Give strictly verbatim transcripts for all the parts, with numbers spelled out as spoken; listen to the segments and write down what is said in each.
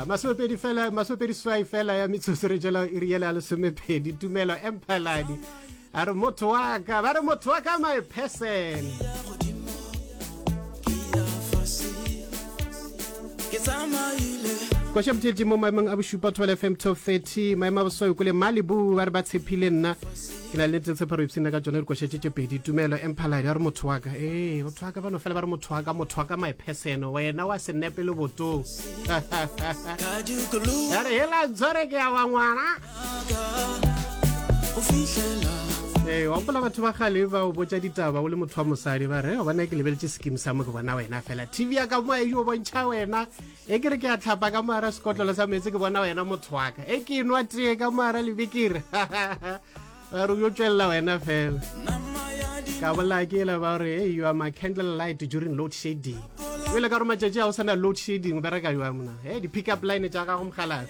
Masomepedi fela, masomepedi swai fela ya metsotso re tšwela iri yela ya lesomepedi. Tumelo Emphaladi a re motho wa ka, ba re motho wa ka my person. Koša motšhetši mo maemong a bošupa Thobela F M Top thirty, maemo a boswai kole Malibu ba re ba tshepile nna. Ke na le tshepo re ipshina ka tšona dikoša tše tše pedi. Tumelo Emphaladi a re motho wa ka, ee motho wa ka, ba no fela ba re motho wa ka, motho wa ka my person, wena wa senepe le botong. Ya re hela ntshware ke ya wa ngwana. Ee, wa gopola batho ba kgale ba o botša ditaba o le motho wa mosadi, ba re bona ke lebeletše skim sa mo ke bona wena fela, T V ya ka mo e yo bontšha wena, e ke re ke a tlhapa ka moara sekotlolo sa meetse ke bona wena motho wa ka, e ke nwa tee ka moara lebekere, ba re yo tšwelela wena fela. Ka bola ke ela ba re, hey, you are my candle light during load shedding. O ile ka re matšatši a o sana load shedding o bereka jwang mona? Hey, di pick up line tša gago mogalabe.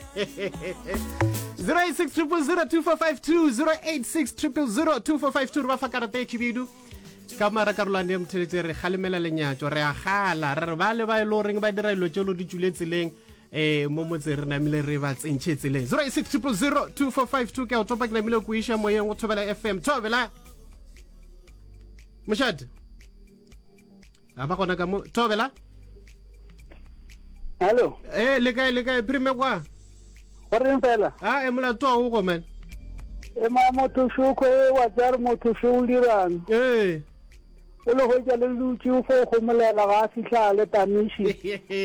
zero eight six triple zero two four five two, zero eight six triple zero two four five two, re ba fa karata e khibidu. Ka mara karolwane ya motheletše re kgalemela lenyatšo, re a gala, re re ba le ba e le goreng ba dira dilo tšeo di tšwile tseleng, eh mo motse re namile re ba tsentšhe tseleng. zero eight six triple zero two four five two, ke a o topa ke namile ko iša moyeng go Thobela F M. Thobela mošate a ba gona ka mo Thobela. Hello. Eh le kae, le kae prime kwa? Go reng fela? Ah, e molato wa go man. E ma motho šoko e wa tsare motho šo o dirang. Eh. O le hwetša le dutše o fo gomolela ga a fihla le tamiši.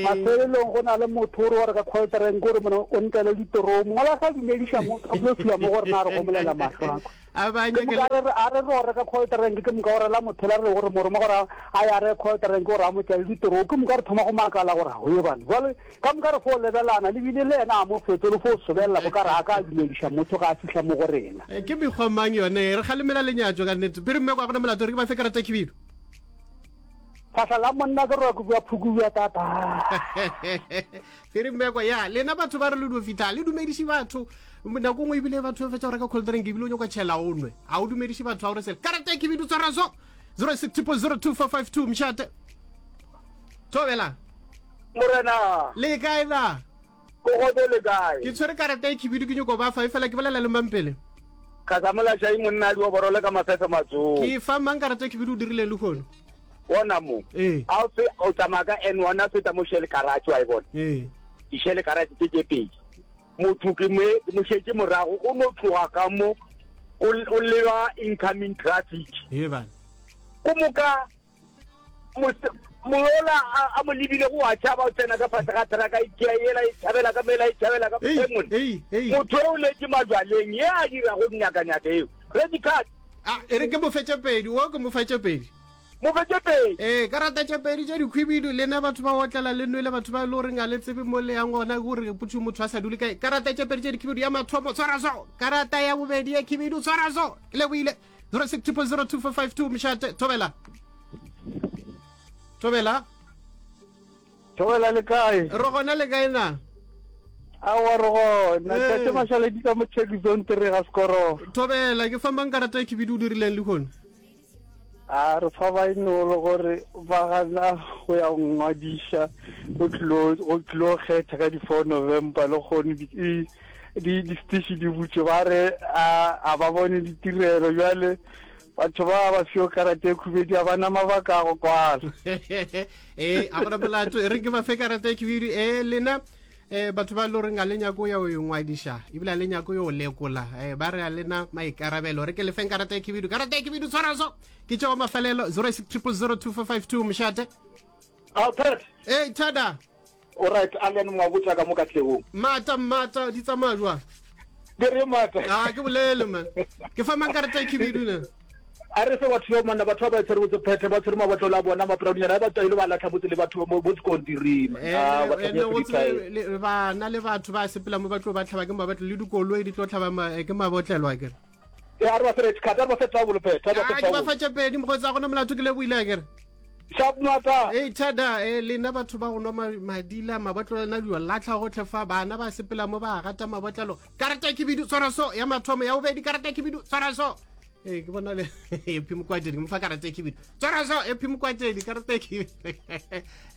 Mafelelong go na le motho o re wa re ka cold drink o re mona o ntlele ditoromo. Mola sa dumediša motho a tlo fihla mo gore na re gomolela mahlo a. A ba Ke moka re re a re re reka cold drink ke moka o rela motho la re gore moroma gore a ya re cold drink gore a mo tlele ditoromo ke moka re thoma go makala gore o ye bana. Jwale ka moka re fo lebelana le bile le yena a mo fetole le fo sobelela bo ka re a ka dumediša motho ga a fihla mo go rena. Ke mekgwa mang yone re kgalemela lenyatšo ka nnete. Pere mme kwa gona molato re ke ba fe karata khibidu. Fahla la monna ke roka bua phuku bua tata. Pere mme kwa ya lena batho ba re le do fitla le dumediši batho. Nako nngwe ebile batho ba fetša go reka cold drink ebile o nyaka tšhela o nwe. A o dumediše batho a o re sele. Karata khibidu tshwara so. zero six triple zero two four five two mshate. Thobela. Morena. Le kae na? Ko gotse le kae? Ke tshwere karata e khibidu ke nyoko ba fa e fela ke bolela le mang pele? Khasamola Shai monna a di oborole ka mafefe matsogo. Ke fa mang karata e khibidu o dirileng le khono? Bona mo. Eh. A o fe o tsamaya ka N one a feta mo Shell garage wa e bona. Eh. Di Shell garage tse tse pedi. Motho ke mo mo šetše morago o no tloga ka mo o o leba incoming traffic. He bana. Ko moka mola a mo lebile go wa tšhaba o tsena ka fase ga truck e tšea yela e tšhabela ka mela e tšhabela ka mone. Motho o letše majwaleng ye a dirago nyakanyaka eo. Red card. A e re ke mo fetše pedi, o ke mo fetše pedi. Mo fetše pedi. Ee, karata tše pedi tše dikhwibidu lena batho ba otlela le nwele batho ba e le goreng a le tsebe mo le yang gona gore potso motho a sa dule kae. Karata tše pedi tše dikhibidu ya mathomo tshwara so. Karata ya bobedi ya khibidu tshwara so. Ke lebohile. zero six triple zero two four five two mshate Thobela. Thobela. Thobela le kae? Re gona le kae na? Aowa re gona. Tate Mashaledi ka mo check zone three ga Sekoro. Thobela ke fa mang karata ya khibidu o dirileng le khono? A re fa ba inolo gore ba gana go ya ngwadiša go tlilo go tlilo kgetha ka di four November le kgone di di di station di butše ba re a a ba bone ditirelo jwale batho ba ba fiwa karata e khubedi a bana mabaka a go kwala. Eh a gona molato e re ke ba fe karata e khibidu eh lena eh batho ba lo reng a le nyako ya o ngwadiša ebile a le nyako yo lekola eh ba re a lena maikarabelo re ke lefeng karata e khibidu karata e khibidu tshwara so ke tšeo mafelelo zero six triple zero two four five two mshate. Alfred. Hey Thada. All right, Alan Mwabutsa ka mo Katlehong. Mata mata di tsamaya jwang? Ke re mata. Ah ke bolele man. Ke fa mang karata e khibidu na? A re fe batho ba manna batho ba ba tshwere botse phethe ba tshwere mabotlolo a bona maporaonyana ba tswaile ba latlha botse le batho mo bo sekontiring. Ah ba bana le batho ba sepela mo ba tlo ba tlhaba ke mabotlolo le dikoloi di tlo tlhaba ke mabotlelo a kere. E a re ba fe red card, a re ba fe trouble phethe, a re ba fe trouble. Ah ke ba fa tše pedi mokgotsi a gona molato ke lebohile a kere. Sharp mata. Hey Thada, eh lena batho ba go nwa madila mabotlolo na dio latlha gotlhe fa bana ba sepela mo ba gata mabotlolo. Karata ke bidu tshwara so ya mathomo ya bobedi karata ke bidu tshwara so. Ee, ke bona le Happy Mokwatedi, ke mo fa karata e khibidu. Tswara so Happy Mokwatedi, karata e khibidu.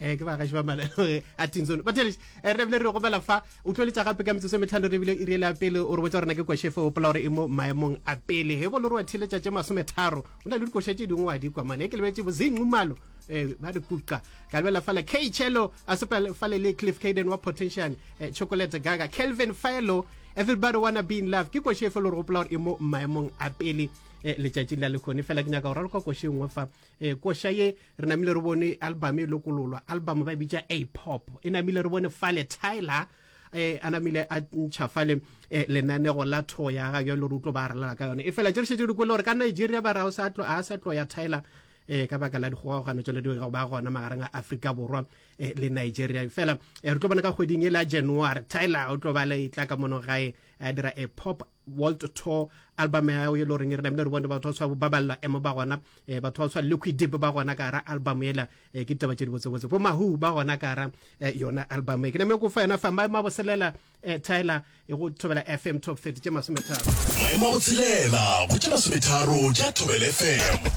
Eh, ke bagaši ba malelo a Tinzone. Batheletši, eh, re bile re gobela fa, o tlo letša gape ka metsotso e metlhano re bile iri ele ya pele, o re botsa gore na ke košefe o pola gore e mo maemong a pele. He bolo re wa theletša tše masometharo, o na le dikoša tše dingwe wa di kwa mane. E ke lebetše bozinqumalo, eh, ba re kuka. Ka lebela fale K Chelo, a sepela fale le Cliff Caden wa Potential, eh, Chocolate Gaga, Kelvin Philo, Everybody Wanna Be In Love. Ke koše efe le gore gopola gore e mo maemong a pele eh, letšatšing la lekhone. Fela ke nyaka go raloka koše e nngwe fa. Eh, koša ye re namile re bone album e lokololwa, album ba e bitša A Pop. E namile re bone fale Tyler eh, a namile a ntšha fale eh, lenanego la tho ya ga jalo re utlo ba ralala ka yone. E fela tše re šetše di kwele gore ka Nigeria ba re a o sa tlo a sa tlo ya Tyler eh ka baka la dikgogagano tsone di go ba gona magareng a Afrika Borwa eh, le Nigeria. Fela eh, re tlo bona ka kgweding e la January Tyler o tlo ba le tla ka mono gae a dira a pop world tour album ya e le goreng re namile re bone batho ba tshwa ba balla emo ba gona, eh, batho ba tshwa Liquid Deep ba gona ka gara album ela. Eh, ke ditaba tše di botsebotse, bo Mahu ba gona ka gara eh, yona album e. Ke name ko fa yona fa maemo a boselela eh, Tyler e go Thobela F M Top thirty tše masometharo. Maemo a botshelela go tše masometharo tša Thobela F M.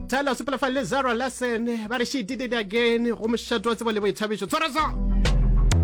Tyler sepela fa le Zara Larson ba re she did it again go mošato wa tsebo le boithabišo. Tshwara so.